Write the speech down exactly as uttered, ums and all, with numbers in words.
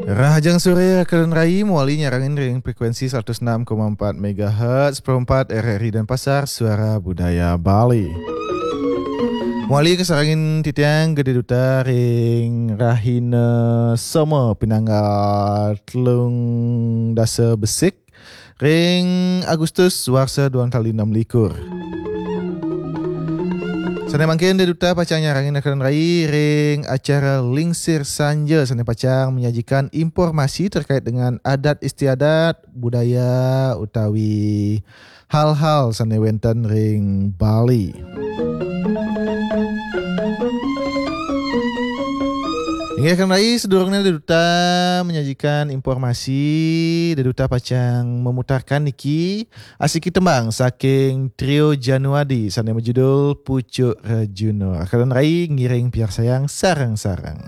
Rahajeng sore, Karen Rai, mawali nyarengin ring frekuensi seratus enam koma empat megahertz, perempat R R I Denpasar, Suara Budaya Bali. Mawali kasarengin titiang Gede Duta ring rahina Soma pinanggal telung dasa besik, ring Agustus warsa dua tali enam likur. Sane mangkin Gede Duta pacang nyarengin Karen Rai ring acara Lingsir Sanja sane pacang menyajikan informasi terkait dengan adat istiadat, budaya utawi hal-hal sane wenten ring Bali. Inggih, Karen Rai, sedurungne Gede Duta menyajikan informasi, Gede Duta pacang memutarkan niki asiki tembang saking Trio Januadi sane majudul Pucuk Rejuna. Karen Rai ngiring piarsayang sareng-sareng.